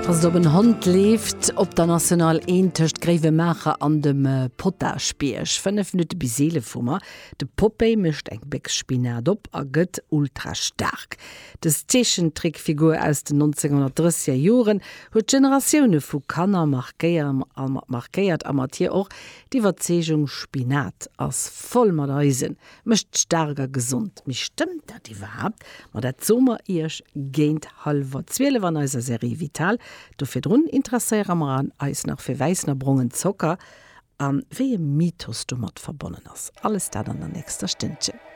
Passt op, en Hond leeft op der National 1 tëscht Gréiwemaacher an dem Potaschbierg. 5 Minutte bis 11 hu mer. De Popeye mécht eng Béchs Spinat op a gëtt ultra staark. Dës Zeechentrickfigur aus den 1930er Joren huet Generatioune vu Kanner markéiert a mat hir och d'Iwwerzeegung, Spinat ass voll mat Eisen, Mécht staark a gesond. Mee stëmmt dat iwwerhaapt? Ma dat soe mer iech géint hallwer 12 an eiser Serie Vital. Do virdrun interesséiere mer eis nach fir wäissen a brongen Zocker a wéi e Mythos domat verbonnen ass. Alles dat an der nächster Stënnchen.